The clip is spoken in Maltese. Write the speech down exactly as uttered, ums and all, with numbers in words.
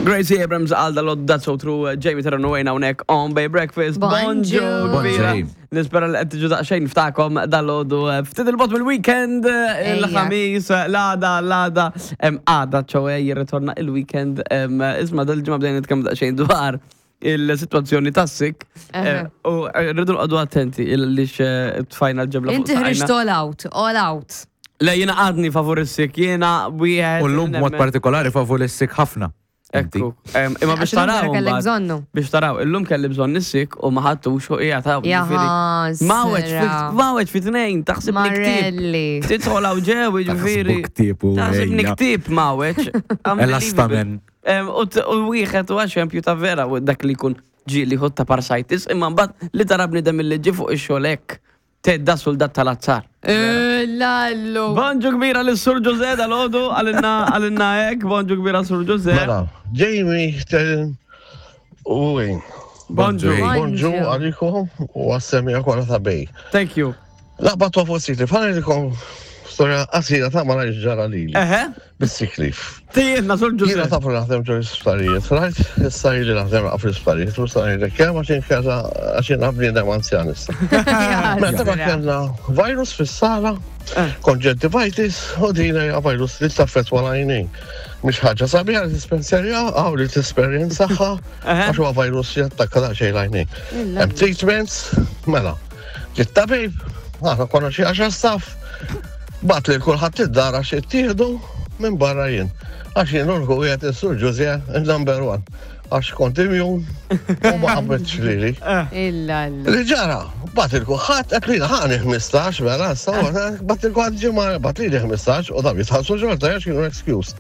Gracie Abrams għal dal That's So True, Jamie Terran u Wayne hawnhekk on Bay Breakfast. Bonġu. Kbira. Bonġu. Nispera li qed tiġu daqsxejn ftakom dal-għodu ftit il-bot mill-weekend, il-ħamis, l-għada, l-għada, em, għada, ċoħe jirritorna il-weekend. em, Isma' dal-ġimgħa bdejna nitkellmu daqsxejn dwar il-situazzjoni tas-sick. Eħe. U rridu nqogħdu attenti il-lix tfajna l-ġebla fuq Inti ħriġt saqajna. all out, all out. Le, jiena għadni favur is-sick, jiena wieħed. U l-lum mod partikolari favur is-sick ħafna. Inti. Ekku, em, imma biex Għax illum taraw. vera kellek mbagħad- bżonnu. Biex taraw, illum kelli bżonn is-sick u ma ħadtux u qiegħed hawn, ġifieri. Jaħasra. Maweċ, maweċ fi tnejn, taħseb niktib. Marelli. Tidħol hawn ġew, ġifieri. Taħsbu ktieb u Taħseb ejja. niktib maweċ. Elastamen. Em, U t- u wieħed u eżempju ta' vera u dak li jkun ġieli ħut ta' parsajtis, imma mbagħad li tara bniedem li ġi fuq ix-xogħol hekk. Tedda soldat tal-azzar. Eh, Lallu. Bonġu kbira lis-Sur Ġuże dal-għodu, għalinna għalinna hekk, bonġu kbira Sur Ġuże. Mela, Jamie, Terren u Wayne. Bonġu. Bonġu għalikom u għas-semmiegħa kollha ta' Bay. Thank you. Laqba ta' fuq sick leave, ħa ngħidilkom storja qasira ta' ma ġara lili. Eħe, Bis-sick leave. tijietna Sur Jiena Ġuże. tafu naħdem ġo l-isptarijiet, right? Issa ili naħdem għaf l-isptarijiet, u issa ngħidlek kemm għax inkella għax jiena bniedem anzjan issa. Meta ma kellna virus fis-sala, conjunctivitis, u din hija virus li taffettwa l-għajnejn. Mhix ħaġa sabiħa li tispensjerja, għaw li tesperjenzaha, għax huwa virus jattakka daqsxejn l-għajnejn. Hemm treatments, mela. Ġiet tabib, aħna konna xi għaxar staff, bagħat li kulħadd id-dar għax ittieħdu minn barra jien. Għax jien urku qiegħed is-Sur Ġuże number one. Għax kont immune u ma qabetx lili. Illallu. Li ġara, bagħat lil kulħadd, qed li ħani ħmistax, mela, sawa, bagħat lil kulħadd ġimgħa, bagħat li ħmistax, u dam jitħallsu xorta, għax kienu excuse.